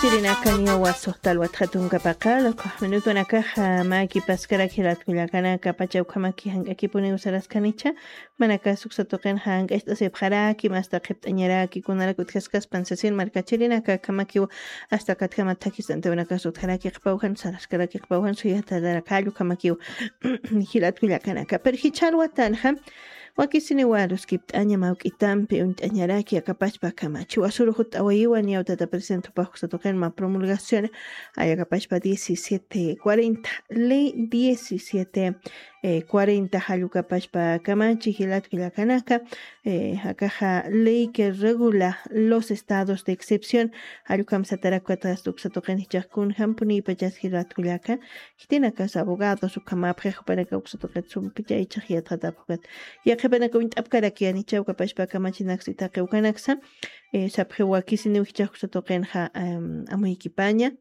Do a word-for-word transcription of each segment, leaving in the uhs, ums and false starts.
Tirinakaniwa suxtalwat jatunkapaqa, luqux minutunakaxa mäkipaskaraki jilatkullakanaka pacha ukhamaki jank'akipuniw saraskanicha, manaka suksa tuqin jank'acht'asipxaraki, masta qhipt'añaraki, kunarak utjaskaspan sasin markachirinaka akhamakiw, asta katjamat thakhistantiwanakas utjaraki qhipawjan, saraskaraki qhipawjan, suyatarak jallukamakiw jilatkullakanaka. Pero jichhalwatanxa, wakisiniwa aruskipt'aña mawk'itampi uñt'añaraki akapachpa akamachi. Wasuru jut'awayiwa niyaw tata presidente jupax uksa tuqin mä promulgación, ayakapachpa diecisiete cuarenta, ley diecisiete, eh, cuarenta jallukapachpa akamachi jilatkullakanaka, eh, akaxa ley que regula los estados de excepción, jallukam satarak ukatxa uksa tuqin jichhax kunjampunipachas jilatkullaka, Jitinakas abogados ukhamapxix jupanaka uksa tuqit sumpicha ichax yatxatapxukat. Yaqhipanaka uñt'apkarakiyanicha ukapachpa kamachinaksa itaqi ukanaksa, eh, sapxiw wakisiniw jichhax uksa tuqinxa, em, amuykipaña,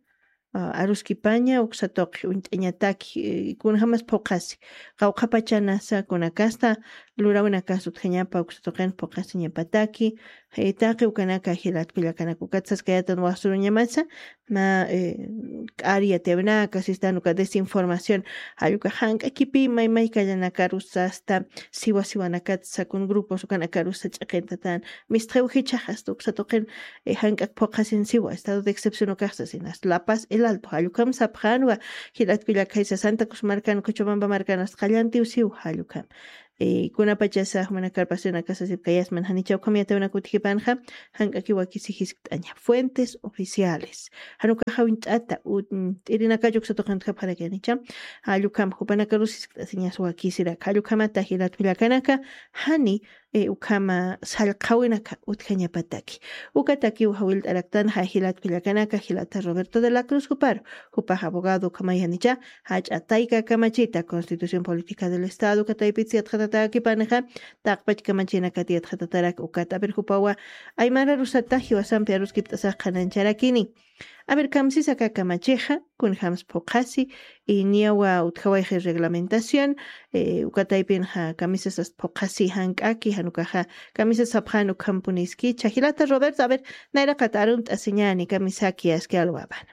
ah, aruskipaña, uksa tuqi uñt'añataki, eh, kunjamas phuqhasi. Qawqhapachanasa kunakasta, lurawinakas utjañapa uksa tuqin phuqhasiñapataki, eh, taqi ukanaka jilatkullakanaka ukat saskayatan wasuruñamasa, mä, eh, k'ari yatiyawinaka, sistan uka desinformación, jall uka jank'akipi maymay kallanakarusa, asta siwa siwanakat, sakun grupos ukanakarusa ch'iqintatan, mistxiw jichhax, asta uksa tuqin, eh, jank'ak phuqhasin siwa, estado de excepción ukax sasin, asta La Paz, El Alto, jall ukham sapxänwa, jilatkullakaysa Santa Cruz markan, Cochabamba markan, asta qallantiw siw, jall ukham. Eh, kunapachasa, jumanakar pasionaka sasipkayasman, janicha ukham yatiyawinaka utjipanxa, jank'aki wakisi jiskt'aña. Fuentes oficiales. Jan ukaxa uñt'ata, u-, mm, t'irinakacha uksa tuqin utjapxarakiyanicha. Jall ukham jupanakarus jiskt'asiñas wakisirak. Jall ukhamata jilatkullakanaka, jani, eh, ukhama sallqhawinaka utjañapataki. Ukatakiw jawillt'araktanxa jilatkullakanaka, jilata Roberto de la Cruz juparu. Jupax abogado ukhamayanicha, jach'a tayka kamachita Constitución Política del Estado uka taypitsa yatxatatäkipanixa, taqpach kamachinakat yatxatatarak ukat. A ver, jupawa aymararusata jiwasampi aruskipt'asax qhanañcharakini. A ver, kamsisa aka kamachixa, kunjams phuqhasi, y niyawa utjawayxi reglamentación, eh, uka taypinxa kamisas ast phuqhasi jank'aki, jan ukaxa kamisas sapxän ukhampuniski. Chhajilata Roberto, a ver, nayraqat arunt'asiñäni kamisaki aski alwapan.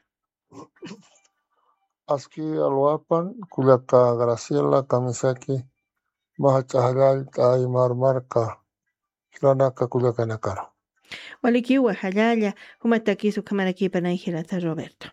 Aski alwapan, kullaka Graciela, kamisaki, mä jach'a jallallt'a aymar marka jilanaka kullakanakaru. Walikiwa jallalla, jumatakis ukhamarakipanay jilata Roberto.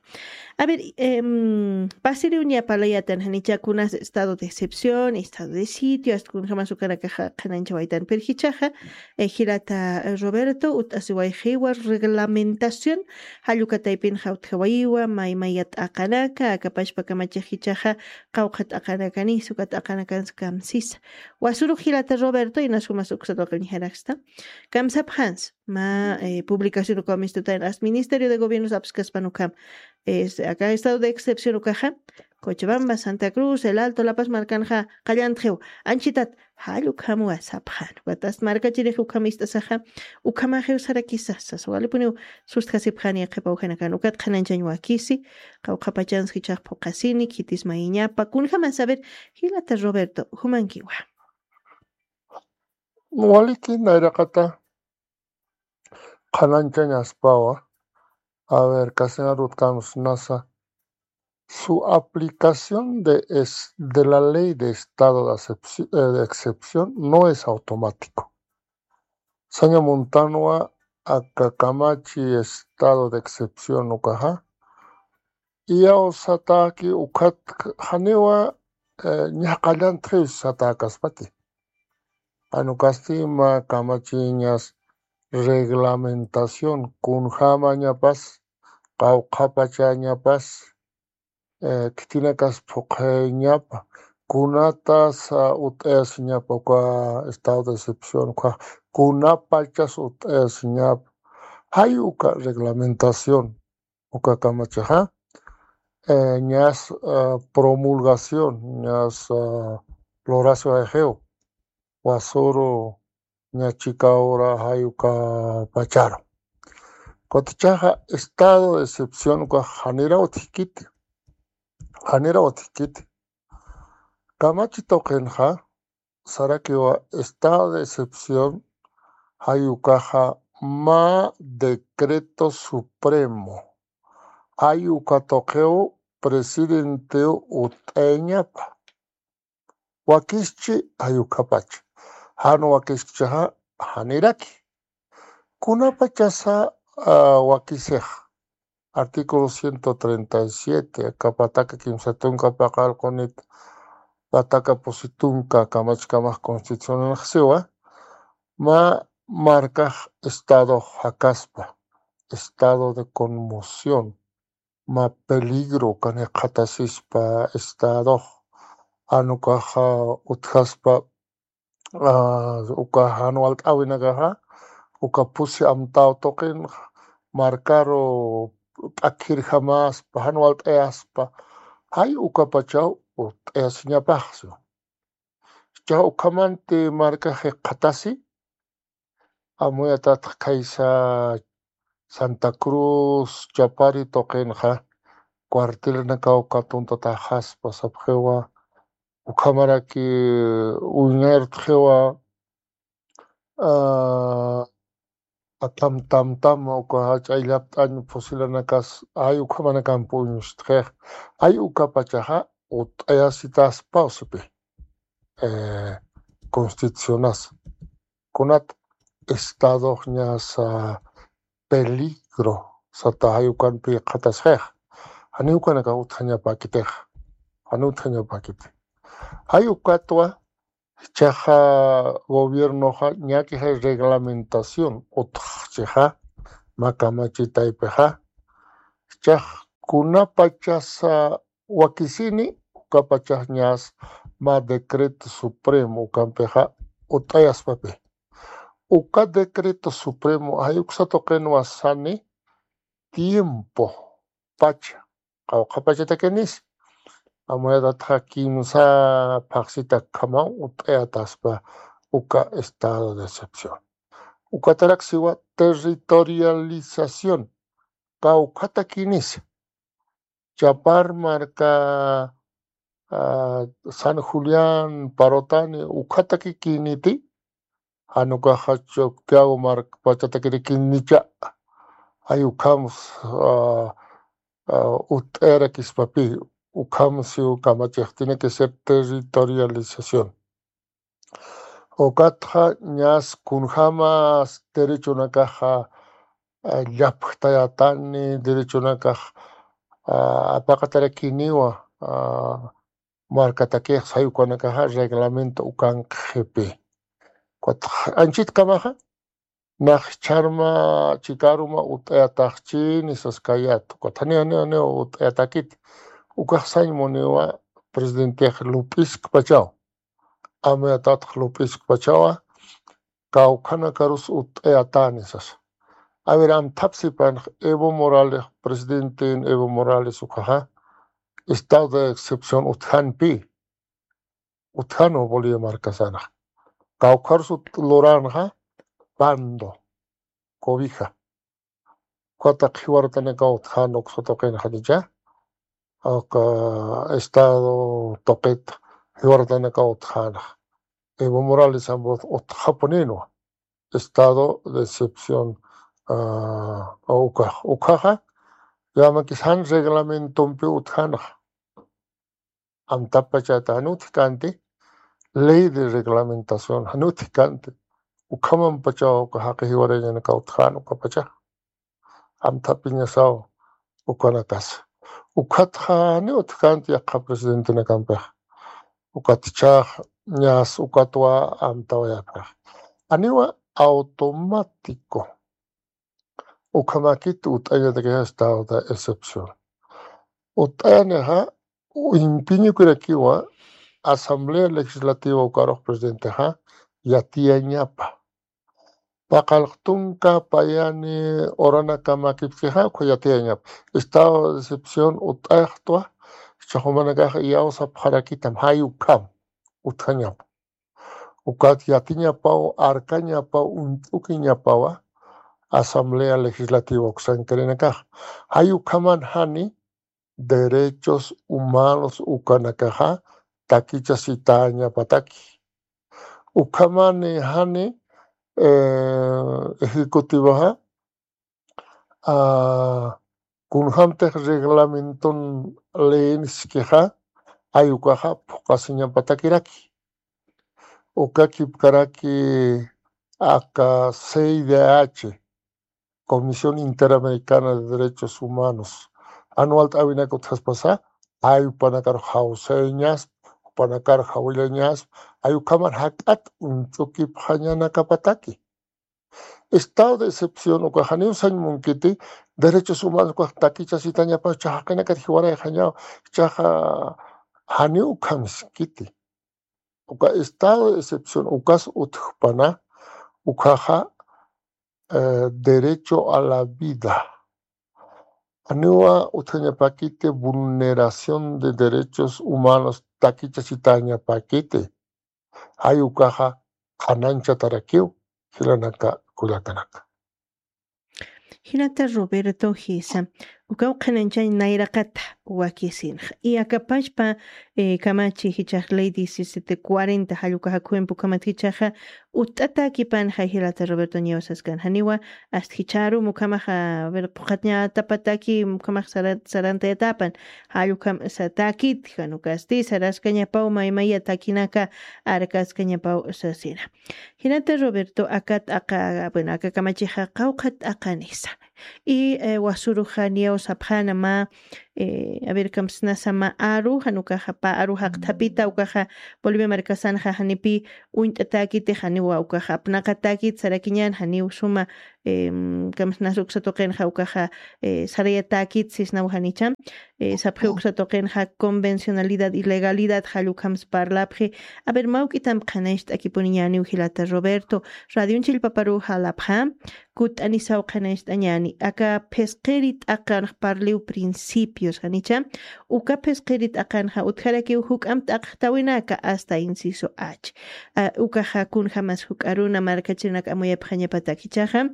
A ver, em, pasiriw niya parlayatan janicha kunas estado de excepción, estado de sitio, asta kunjamas ukanakaxa qhanañchawaytan. Pero jichhaxa, eh, jilata Roberto, ut'asiwayxiwa reglamentación, jall uka taypinxa utjawayiwa, maymaya t'aqanaka, akapachpa kamachix jichhaxa, qawqha t'aqanakanis, uka t'aqanakans kamsisa. Wasurux jilata Roberto, inas jumas uksa tuqin uñjaraksta. Kamsapxans, mä, eh, publicación ukaw mistutan, asta Ministerio de Gobierno sapskaspan ukham. Es, aka estado de excepción ukaxa, Cochabamba, Santa Cruz, El Alto, La Paz markanxa, qallantxiw, anchitat, jall ukhamwa sapxän. Ukat asta markachirix ukham ist'asaxa, ukhamaxiw sarakisas, sasa walipuniw sustjasipxäni qhipawjanakan, ukat qhanañchañ wakisi, qawqhapachans jichhax phuqhasini, khitis mayiñapa, kunjamas a ver, jilata Roberto, jumankiwa. Waliki nayraqata, qhanañchañaspawa, a ver, castellano utjkänwa nasa, su aplicación de es-, de la ley de estado de acepci-, eh, de excepción no es automático. Saña muntanwa aka kamachi estado de excepción ukaxa, iyaw satäki ukhat janiwa, eh, ña qallantxiw satäkaspati. Jan ukasti mä kamachiñas reglamentación, kunjamañapas, qawqhapachañapas, eh, khitinakas phuqhayañapa, kunatas, ah, ut'ayasiñapa uka estado de excepción, uka kunapachas ut'ayasiñapa. Jay uka reglamentación, uka kamachixa, eh, ñas, ah, promulgación, ñas, ah, lurasiwayxiw, wasuru ña chika ura jay uka pacharu. Kutichaxa estado de excepción ukax janiraw utjkiti, janiraw utjkiti. Kamachi tuqinxa, sarakiwa estado de excepción, jay ukaxa mä decreto supremo, Ay uka tuqiw presidentiw ut'ayañapa. Wakischi ay ukapach. Jan wakiskchixa janiraki. Kunapachasa ah, wakisix. Artículo ciento treinta y siete, aka pataka kimsa tunka paqallqunit pataka pusi tunka kamachkamax constitucionanx siwa, mä markax estadox jakaspa, estado de conmoción, mä peligro ukan jikxatasispa estadox, jan ukaxa utjaspa ah, uka jan walt'äwinakaxa, uka pusi amtaw tuqin markaru p'akhirjamaspa, jan walt'ayaspa, jay ukapachaw ut'ayasiñapaxsu. Jichhax ukhamanti markax jikxatasi, amuyatatx khaysa Santa Cruz, Chapari tuqinxa, cuartelnakaw uka tuntataxaspa sapxiwa, ukhamaraki uñartxiwa, ah, atam tamtam uka jach'a illapt'añ fusilanakas, ay ukhamanakamp uñustxix, ay ukapachaxa ut'ayasitaspaw sipi, eh, constitucionas. Kunat estadoxñasa peligro sata jay ukanpi jikxatasxix. Janiw ukanakax utjañapäkitix. Janiw utjañapäkiti. Jay ukatwa, jichhaxa gobiernoxa ñakixay reglamentación utjxchixa, mä kamachitaypixa. Jichhax kunapachasa wakisini, ukapachax ñas mä decreto supremo ukampixa ut'ayaspapi. Uka decreto supremo jay uksa tuqinwa sani tiempo pacha, qawqha pachatakinis, amuyatatxa kimsa phaxsitakhamaw ut'ayataspa uka estado de excepción. Ukatarak siwa territorialización, kawkhatakinis. Chapar marka, ah, San Julián, Parotani, ukhatakikïniti, jan ukaxa Chacao mark pachatakirikinicha, jay ukhams, ah, ah, ut'ayarakispapi, ukham siw kamachix, tiene que ser territorialización. Ukatxa ñas kunjamas derechonakaxa, ah, llapxtayatani, derechonakax, ah, apaqatarakiniwa, ah, markatakix say ukanakaxa reglamento ukanqxipi. Ukatxa anchitkamaxa, nax jichharma chikaruma ut'ayataxchini saskayät. Ukat janiw, janiw, janiw ut'ayatakit. Ukax sañ muniwa presidentix lup'iskpachaw. Amuyatatx lup'iskpachawa, kawkhanakarus ut'ayatani sasa. A ver, amthapsipanx Evo Morales, presidentin Evo Morales ukaxa, estado de excepción utjanpi. Utjanwa Bolivia markasanxa. Kawkharus ut-, luranxa, pando, cobija. Ukataq jiwarutanakaw utjan uksa tuqinxa, uka estado tuqit jiwarutanakaw utjanxa. Evo Morales ambos utjapuninwa. Estado de excepción, ah, ukax. Ukaxa, llamakis jan reglamentompi utjanxa. Amtapachata jan utjkanti, ley de reglamentación jan utjkanti, ukhamampachaw uka jaqi jiwarañanakaw utjan ukapacha. Amthapiñasaw ukanakas. Ukatxa janiw utjkanti yaqha presidentenakampix. Ukat jichhax ñas ukatwa amtawayapxix. Janiwa automático ukhamakit ut'añatakix estado de excepción. Ut'ayanixa, impiñukirakiwa Asamblea Legislativa ukarux presidentexa yatiyañapa. Paqallq tunka payani uranakamakipkixa, ukha yatiyañapa. Estado de excepción ut'axtwa, jichhax jumanakax iyawsapxarakitam, jay ukham utjañapa. Ukat yatiñapaw, arkañapaw, uñt'ukiñapawa Asamblea Legislativa uksankirinakax. Jay ukhaman jani derechos humanos ukanakaxa takichasitäñapataki. Ukhamani jani, eh, ejecutivoxa, ah, Kunjämtix reglamenton leeniskixa, ay ukaxa phuqasiñapatakiraki. Uka kipkaraki aka C I D H, Comisión Interamericana de Derechos Humanos, anualt'äwinak utjaspasa, ay jupanakaru jawsayañaspa, jupanakaru jawillañaspa, ay ukhaman jak'at uñch'ukipxañanakapataki. Estado de excepción ukax janiw sañ munkiti, derechos humanos ukax takichasitañapaw, jichhax jaqinakat jiwarayxañaw, jichhaxa janiw ukham siskiti. Uka estado de excepción ukas utjpana, ukhaxa, eh, derecho a la vida. Janiwa utjañapakiti vulneración de derechos humanos takichasitañapakiti. Ay ukaxa qhanañchatarakiw, jilanaka kullakanaka. Jilata Roberto jisa, ukaw qhanañchañ nayraqata wakisinxa. Y aka pachpa, eh, kamachi jichhax ley diecisiete cuarenta, jall ukaxa khuwimp ukhamat jichhaxa, utt'atäkipanxa jilata Roberto ñiyaw saskan. Janiwa, ast jichharum ukhamaxa, a ver, phuqhañatapataki, ukhamax sara-, sarantayatapan, jall ukham satäkit, jan ukasti, saraskañapaw maymaya takinaka, arkaskañapaw sasina. Jilata Roberto, aka t'aqa, bueno, aka kamachixa qawqha t'aqanisa. Y, eh, wasuruxa niyaw sapxäna mä, eh, a ver, kamsnasa mä aru, jan ukaxa pä aru jaqthapita, ukaxa Bolivia markasanxa janipï uñt'atäkiti, janiwa ukaxa apnaqatäkit sarakiñän, janiw suma, em, kamsnasa uksa tuqinxa ukaxa, eh, sarayatäkit sisnaw janicha. Eh, sapxi uksa tuqinxa convencionalidad y legalidad, jall ukhams parlapxi. A ver, mä juk'amp qhanañcht'akipuniñäniw jilata Roberto, radion chillpaparu jalapxä, kutt'anisaw qhanañcht'añäni. Aka phisqiri t'aqanx parliw principios, janicha. Uka phisqiri t'aqanxa utjarakiw juk'amp t'aqjtäwinaka hasta inciso H. A, ukaxa kunjamas juk'aruna markachirinak amuyapxañapatak jichhaxa,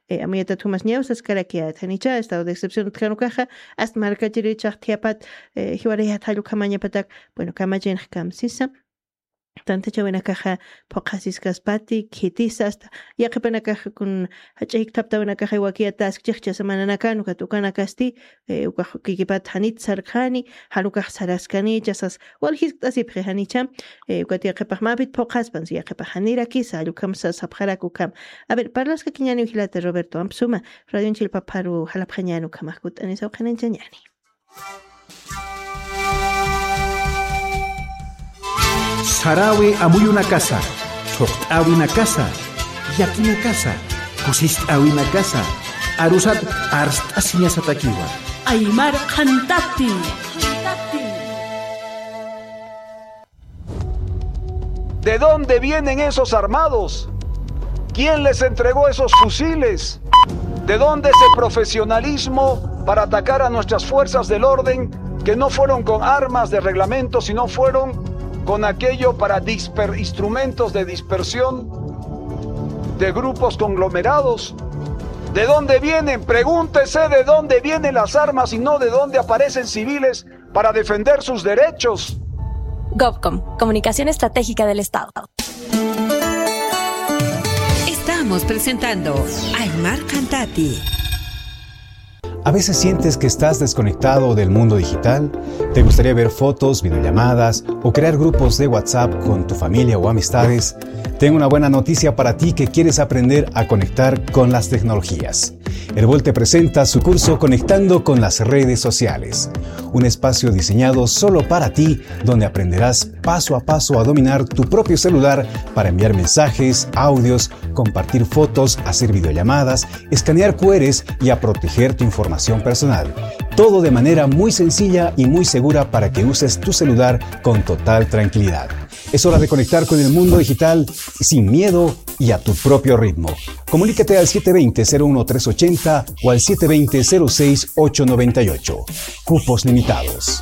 eh, amuyatat jumas ñiyaw saskarakiyät, janicha, estado de excepción utjan ukaxa, hasta markachirichax thiyapxat, eh, jiwarayät jall ukhamañapatak, bueno, kamachinx kamsisa. Tantachäwinakaxa phuqhasiskaspati, khitisa, hasta yaqhipanakaxa kun jach'a jikthaptäwinakaxa wakiyatäskchix jichhasa mananakan, ukat ukanakasti, eh, ukax kikipat janit sarjani, jan ukax saraskani, jichhasas waljiskt'asipxi janicha, eh, ukat yaqhipax mäpit phuqhaspan, si yaqhipax janirakisa, jall ukham sa-, sapxarak ukham. A ver, parlaskakiñäniw jilata Roberto, amp suma, radion chillpaparu jalapxañäni ukhamax kutt'anisaw qhanañchañäni. Saräwi amuyunakasa, thuqt'äwinakasa, llakinakasa, kusist'äwinakasa, arusat arst'asiñasatakiwa. Aymar Qhantati. ¿De dónde vienen esos armados? ¿Quién les entregó esos fusiles? ¿De dónde ese profesionalismo para atacar a nuestras fuerzas del orden que no fueron con armas de reglamento, sino fueron con aquello para disper-, instrumentos de dispersión de grupos conglomerados? ¿De dónde vienen? Pregúntese de dónde vienen las armas y no de dónde aparecen civiles para defender sus derechos. Govcom, Comunicación Estratégica del Estado. Estamos presentando Aymar Qhantati. ¿A veces sientes que estás desconectado del mundo digital? ¿Te gustaría ver fotos, videollamadas o crear grupos de WhatsApp con tu familia o amistades? Tengo una buena noticia para ti que quieres aprender a conectar con las tecnologías. Erbol te presenta su curso Conectando con las redes sociales, un espacio diseñado solo para ti, donde aprenderás paso a paso a dominar tu propio celular para enviar mensajes, audios, compartir fotos, hacer videollamadas, escanear Q Rs y a proteger tu información personal. Todo de manera muy sencilla y muy segura para que uses tu celular con total tranquilidad. Es hora de conectar con el mundo digital sin miedo y a tu propio ritmo. Comunícate al siete veinte, cero uno, tres ochenta o al siete veinte, cero seis, ocho noventa y ocho. Cupos limitados.